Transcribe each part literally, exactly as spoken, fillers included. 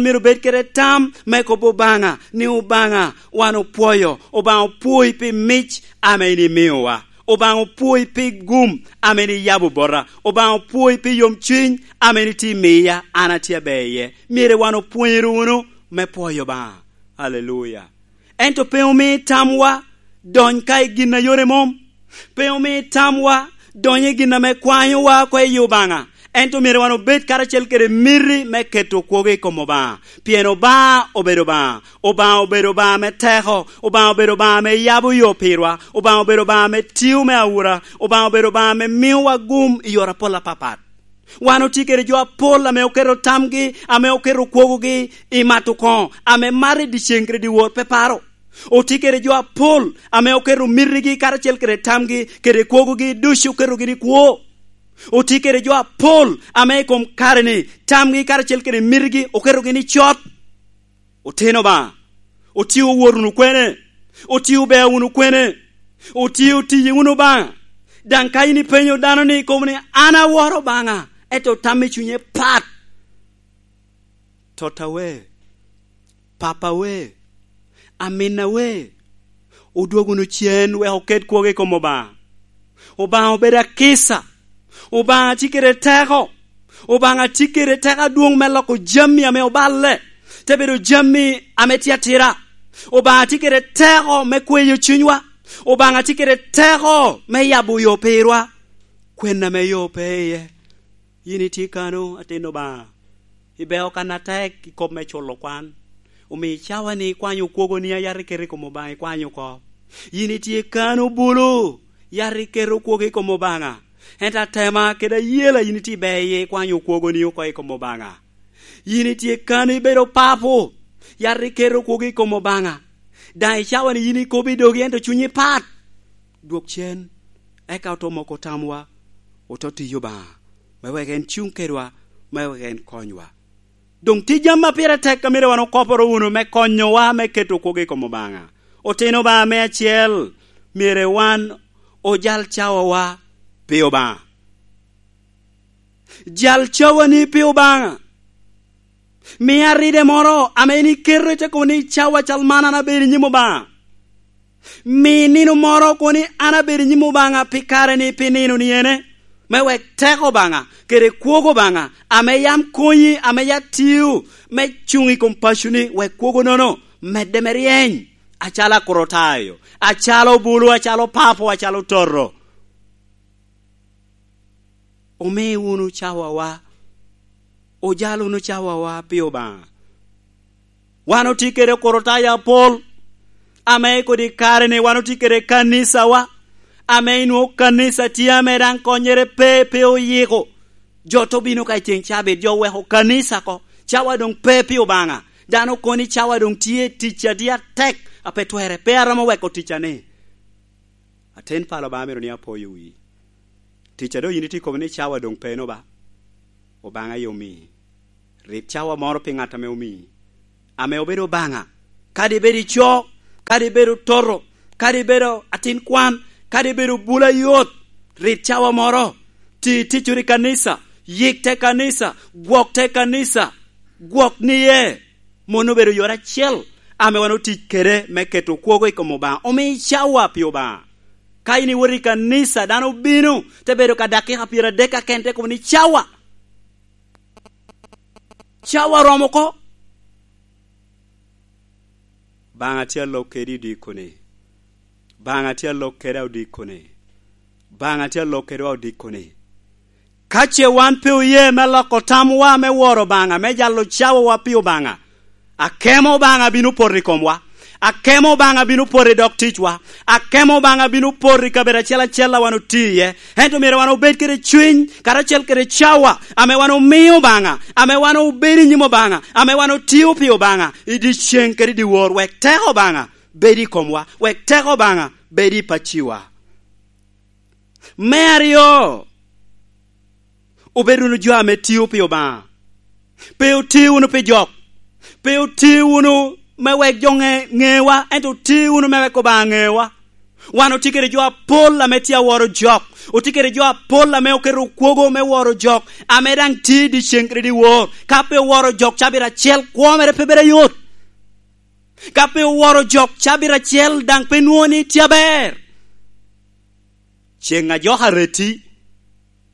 myero obed kede tam me kobo Obaŋa ni, "Obaŋa, wan opwoyo. Obaŋa opwoi pi mic ame in imiowa. Obaŋa opwoi pi gum ame in iyabo bota. Obaŋa opwoi pi yomcuny ame in itye imiya, an atye aber iye." Myero wan opwonyere wunu me pwoyo Obaŋa. Aleluya. Ento pe omi tamwa dony ka i gin a yore mom. Pe omi tamwa donyo i gin ame kwanyowa oko i Obaŋa. Ento myero wan obed karacel kede miti me keto kwogo i kom Obaŋa. Pien Obaŋa obedo Obaŋa. Obaŋa obedo Obaŋa me teko. Obaŋa obedo Obaŋa ame yabo yo pirwa. Obaŋa obedo Obaŋa ame tio me aura. Obaŋa obedo Obaŋa ame miowa gum i yore apol apapat. Wan otye kede jo apol ame oketo tamgi, ame oketo kwogogi i mato koŋo, ame mato i dyeceŋ kede dyewor pe paro. Otye kede jo apol ame oketo mitigi karacel kede tamgi kede kwogogi ducu, oketogi ni kwo. Otye kede jo apol ame i kom kare-ni tamgi karacel kede mitigi oketogi ni cot. Otino Obaŋa, otye owot wunu kwene? Otye obea wunu kwene? Otye otiye wunu Obaŋa? Daŋ ka in ipenyo dano ni, ikobo ni, "An aworo Obaŋa," ento tam i cunye pat. Totta we, papa we, aminna we, odwog wunu cen wek oket kwogo i kom Obaŋa. Obaŋa obedo akica. Obaŋa tye kede teko. Obaŋa tye kede teko adwoŋ me loko jami ame oballe, te bedo jami ame tye atira. Obaŋa tye kede teko me kweyo cunywa. Obaŋa tye kede teko me yabo yo pirwa. Kwen ame yo pe iye. Yin itye kano, atin Obaŋa. Ibeo kan atek i kop me culo kwan. Omiyo icawa ni ikwanyo kwogoni a yat iketo i kom Obaŋa, ikwanyo oko. Yin itye kano bulu, yat iketo kwogo i kom Obaŋa. Ento atema kede ayela yin itye ibe iye ikwanyo kwogoni oko i kom Obaŋa. Yin itye kano ibedo papo, yat iketo kwogo i kom Obaŋa. Daŋ icawa ni yin ikobo i dogi ento cunyi pat. Dwok cen, eka oto moko tamwa, oto tiyo Obaŋa, me wek en cuŋ kedwa, me wek en konywa. Doŋ tye jami a pire tek a myero wan okoporo wunu me konyowa me keto kwogo i kom Obaŋa. Otino Obaŋa me acel, myero wan ojal cawawa pi Obaŋa. Jal cawani pi Obaŋa. Mi aride moro ame in iketo, ite kobo ni, "Cawa cal man an abedo i nyim Obaŋa." Mi nino moro kobo ni, "An abedo i nyim Obaŋa pi kare-ni, pi nino-ni ene," me wek teko Obaŋa kede kwogo Obaŋa ame yam konyi, ame ya tio me cuŋ i kom paconi, wek kwogonono medde me ryeny, acalo akorotayo, acalo bulu, acalo papo, acalo toto. Omi wunu cawawa, ojal wunu cawawa pi Obaŋa. Wan otye kede okorotayo apol, ame i kodi kare-ni wan otye kede kanicawa, ame inwoŋo kanica tye ame daŋ konnyere pe, pe oyiko. Jo te obino ka i ceŋ cabit, jo oweko kanica oko, cawa doŋ pe pi Obaŋa. Dano kono ni cawa doŋ tye tic a tye atek, a pe twerre, pe aromo weko tic-a ni. Atin pala Obaŋa myero ni apoyo wi. Tic a doŋ yin itye kobo ni cawa doŋ pe no ba. Obaŋa aye omii. Rit cawa moro pi ŋat ame omii, ame obedo Obaŋa. Kadi ibedo ico, kadi ibedo toto, kadi ibedo atin kwan, kadi ibedo bula yot, rit cawa moro. Ti ticoro i kanisa, yik te kanisa, gwok te kanisa, gwok niye. Mon obedo yore acel ame wan otic kede me keto kwogo i kom Obaŋa. Omi cawa pi Obaŋa. Ka in iwoto i kanisa, dano obino, te bedo ka dakika pyeradek keken, te kobo ni, "Cawa. Cawa oromo oko." Baŋa tye alok kedi odikone. Baŋa tye alok kede odikone. Baŋa tye alok kedwa odikone. Ka ce wan pe oye me loko tamwa me woro Obaŋa, me jalo cawawa pi Obaŋa, akemo Obaŋa bino poto i komwa. Akemo Obaŋa bino poto i dog ticwa. Akemo Obaŋa bino poto i kabedo acel acel a wan otye iye. Ento myero wan obed kede cwiny, karacel kede cawa, ame wan omio Obaŋa, ame wan obedo i nyim Obaŋa, ame wan otio pi Obaŋa, i dyeceŋ kede i dyewor, wek teko Obaŋa bed i komwa, wek teko Obaŋa bed i pacciwa. Me aryo, obed wunu jo ame tio pi Obaŋa. Pe oti wunu pi jok. Pe oti wunu me wek jo ŋe-, ŋewa, ento oti wunu me wek Obaŋa ŋewa. Wan otye kede jo apol ame tye aworo jok, otye kede jo apol ame oketo kwogo me woro jok, ame daŋ tye i dyeceŋ kede dyewor. Ka pe oworo jok cabit acel, kwo mere pe bedo ayot. Ka pe oworo jok cabit acel, daŋ pe nwoŋo ni tye aber. Ceŋ a jok areti,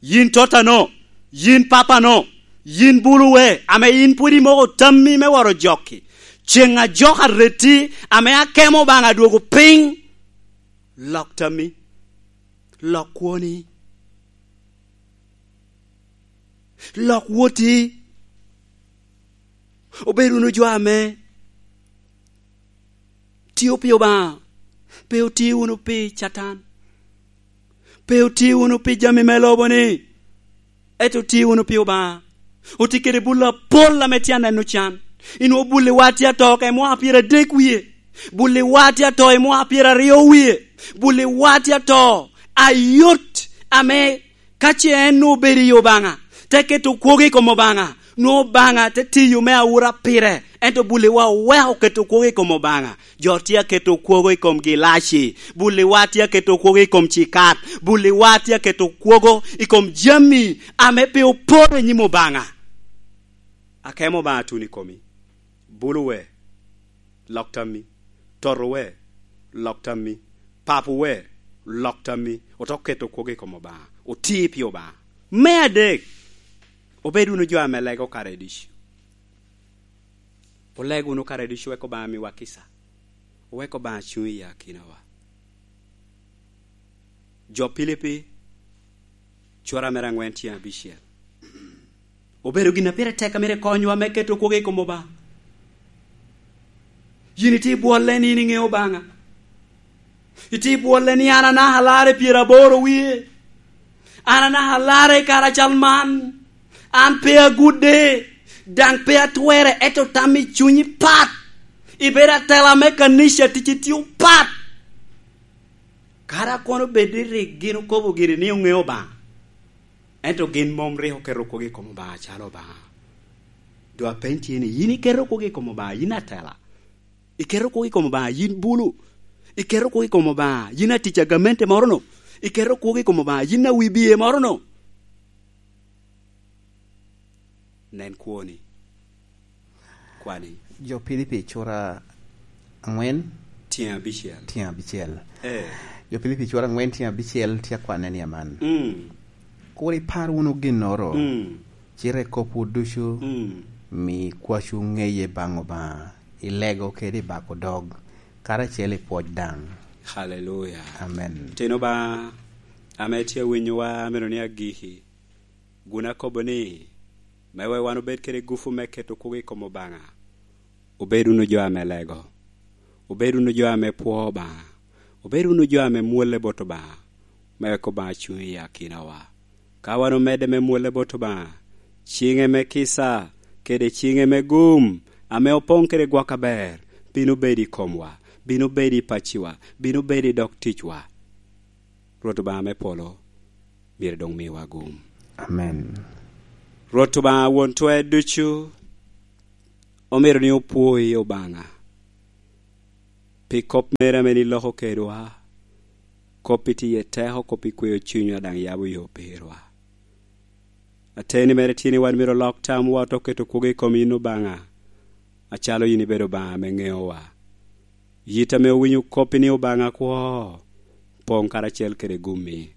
yin totano, yin papano, yin buluwe, ame yin pwod imoko tammi me woro jokki. Ceŋ a jok areti, ame akemo Obaŋa adwogo piny, lok tammi, lok kwoni, lok woti. Obed wunu jo ame tio pi Obaŋa, pe otio wunu pi Catan, pe otio wunu pi jami me lobo-ni, ento otio wunu pi Obaŋa. Otye kede bul apol ame tye aneno can. Inwoŋo bulliwa tye ato ka i mwaka pyeradek wie, bulliwa tye ato i mwaka pyeraryo wie, bulliwa tye ato ayot ame Ka ce en obedo i Obaŋa, te keto kwogo i kom Obaŋa, nwoŋo Obaŋa te tiyo me awura pire, ento bulliwa oweko keto kwogo i kom Obaŋa. Jo tye aketo kwogo i kom gilaci, bulliwa tye aketo kwogo i kom cikat, bulliwa tye aketo kwogo i kom jami ame pe oporo i nyim Obaŋa. Akemo Obaŋa tuno i komi. Bulu we, lok tammi. Toto we, lok tammi. Papo we, lok tammi. Oto keto kwogo i kom Obaŋa. Oti pi Obaŋa. Me adek, obed wunu jo ame lego kare ducu. Oleg wunu kare ducu, wek Obaŋa miwa kica. Wek Obaŋa cuŋ i akinawa. Jo Pilipi, cura mere aŋwen tye abicel. Obedo gin a pire tek a myero ekonywa me keto kwogo i kom Obaŋa. Yin itye i bwolle ni yin iŋeo Obaŋa. Itye i bwolle ni an anaka alarre pyeraboro wie. An anaka alarre i kare acal man. An pe agudde, daŋ pe atwere, ento tam i cunyi pat. Ibedo atela me kanica, ticci tye opat. Kara kono bed ni rik gin okobo giri ni oŋeo Obaŋa, ento gin mom rik oketo kwogo i kom Obaŋa acalo Obaŋa. Doŋ apeny tye ni, yin iketo kwogo i kom Obaŋa, yin atela? Iketo kwogo i kom Obaŋa, yin bulu? Iketo kwogo i kom Obaŋa, yin atic a gamente moro-nu? Iketo kwogo i kom Obaŋa, yin awi biye moro-nu? Nen kwoni. Kwani. Jo Pilipi cura aŋwen, tyen abicel. Tyen abicel. Eh. Jo Pilipi cura aŋwen tyen abicel tye akwanne ni aman. Mm. Kur ipar wunu ginnoro, mm, cite i kopwu ducu, mm, mi kwacu ŋeye baŋ Obaŋa, i lego kede i bako dog, karacel i pwoc daŋ. Haleluya. Amen. Tin Obaŋa ame tye awinyowa, amito ni agiki. Gun akobo ni, me wek wan obed kede gupu me keto kwogo i kom Obaŋa, obed wunu jo ame lego, obed wunu jo ame pwoo Obaŋa, obed wunu jo ame mwolle bot Obaŋa, me wek Obaŋa cuŋ i akinawa. Ka wan omedde me mwolle bot Obaŋa, ciŋe me kica kede ciŋe me gum ame opoŋ kede gwok aber bino bedo i komwa, bino bedo i paciwa, bino bedo i dog ticwa. Rwot Obaŋa me polo myero doŋ miwa gum. Amen. Rwot Obaŋa won twer ducu, omito ni opwoi Obaŋa pi kop mere ame ni loko kedwa, kop pi tiye teko, kop pi kweyo cunywa, daŋ yabo yo pirwa. Ateni mere tye ni wan myero olok tamwa, oto keto kwogo i kom yin Obaŋa, acalo yin ibedo Obaŋa ame ŋeowa. Yit ame owinyo kop-pi ni Obaŋa kwo, poŋ karacel kede gummi.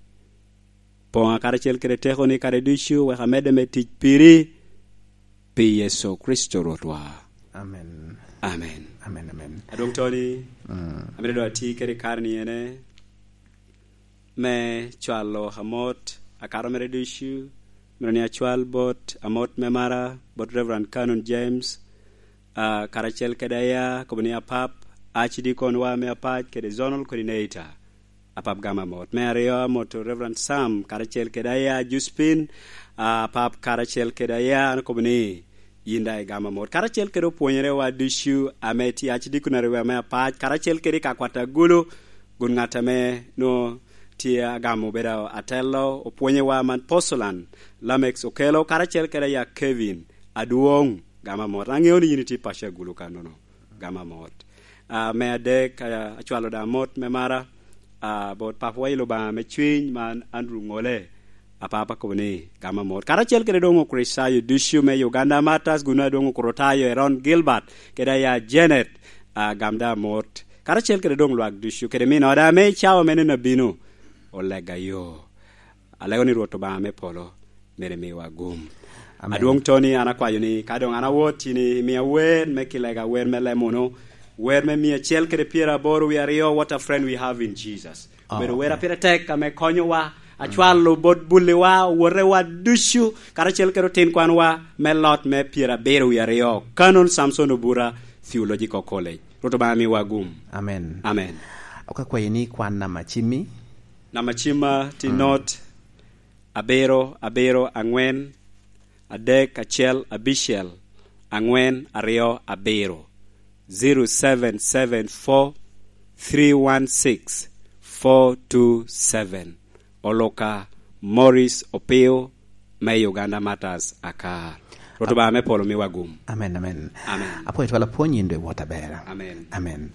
Poŋa karacel kede tekoni kare ducu, wek amedde me tic piri, pi Yecu Kricito Rwotwa. Amen. Amen. Amen, amen. Adwoŋ Tony, mm, amito doŋ ati kede kare ni ene, me cwalo amot akato mere ducu, mito ni acwal bot amot me mara, bot Reverend Canon James, ah, karacel kede aya, kobo ni apap, archdeacon wa me apac, kede zonal coordinator, apap gamo amot. Me aryo, amoto Reverend Sam, karacel kede aya, Juspin, ah, apap karacel kede aya, an kobo ni, yin daŋ igamo amot. Karacel kede opwonyerewa ducu ame tye archdeaconry wa me apac, karacel kede i ka kwat agulu, gun ŋat ame nwoŋo tye agamo obedo atelo, opwonyewa man Posulan, Lamex Okelo, karacel kede aya Kevin Adwoŋ, gamo amot. Aŋeo ni yin itye i paco agulu kanono, gamo amot. Ah, me adek, ah, acwalo daŋ amot me mara, ah, bot papawa i Lubanga me cwiny man Andrew Ŋole, apapa kobo ni gam amot. Karacel kede doŋ Okricitayo ducu me Uganda Martyrs, guno adwoŋ Okricitayo Eron Gilbert, kede aya Janet, ah, gam da amot. Karacel kede doŋ lwak ducu, kede min oda ame i cawa me nino abino, olega yo. Alego ni Rwot Obaŋa me polo myero miwa gum. Amen. Adwoŋ Tony, an akwayo ni ka doŋ an awot, in imia wer me kilega, wer me lemono, wer me mia acel kede pyeraboro wie aryo, "What a Friend We Have in Jesus." Obedo wer a pire tek ame konyowa, acwalo bot bulliwa, owotewa ducu, karacel kede otin kwanwa me lot me pyerabiro wie aryo. Canon Samson Obura, Theological College. Rwot Obaŋa miwa gum. Amen. Amen. Ok akwayi ni kwan namba cimmi. Namba cimma tye not abiro abiro aŋwen adek acel abicel aŋwen aryo abiro, zero seven seven four three one six four two seven. Oluka Morris Opio me Uganda Martyrs Akar. Rwot Obaŋa me polo miwa gum. Amen, amen. Amen. Apwoyo twal apwony, in dwe wot abera. Amen. Amen.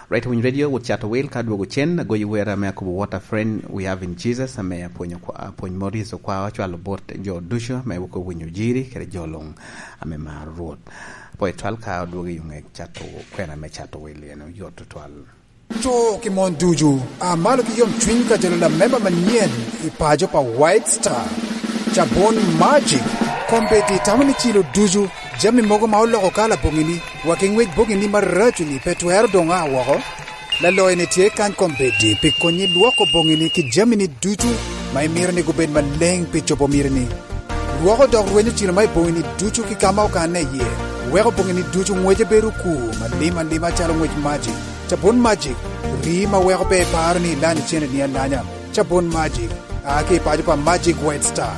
Right Winy Radio, wot cato wil ka dwogo cen, agoyo wer ame akobo What a Friend We Have in Jesus, ame apwony okwa-, apwony Morris Okwa ocwalo bot jo ducu ame wok owinyo jiri, kede jo luŋ ame maro Rwot. Apwoyo twal ka odwogo i ŋe cato kwena me cato wil, en oyot tutwal. Co ki mon ducu, a malo ki yomcwiny ka jalo lamemba manyen i paco pa White Star. Cabon Magic, kombeddi tamo ni cilo ducu, jami mogo ma oloko kala boŋini, wa ki ŋwec boŋini maraco-ni pe twero doŋ a woko. Laloyo-ni tye kany kombeddi pi konyi lwoko boŋini ki jamini ducu ma imito ni gubed maleŋ pi cobo mitini. Lwoko dok rwenyo cilo ma i boŋini ducu ki ka ma okanne iye, weko boŋini ducu ŋwece bedo okur malim alima calo ŋwec Magic. Cabun Magic, rii ma weko pe iparo ni ilanyo cene ni alanya. Cabun Magic, a ki i paco pa Magic White Star.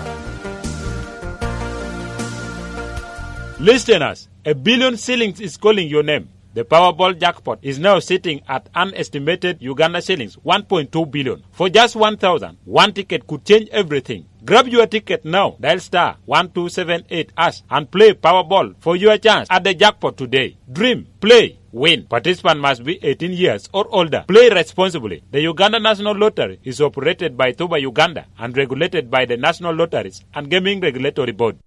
Listeners, a billion shillings is calling your name. The Powerball jackpot is now sitting at an estimated Uganda shillings one point two billion. For just one thousand, one ticket could change everything. Grab your ticket now. Dial star one two seven eight hash and play Powerball for your chance at the jackpot today. Dream, play, win. Participant must be eighteen years or older. Play responsibly. The Uganda National Lottery is operated by Tuba Uganda and regulated by the National Lotteries and Gaming Regulatory Board.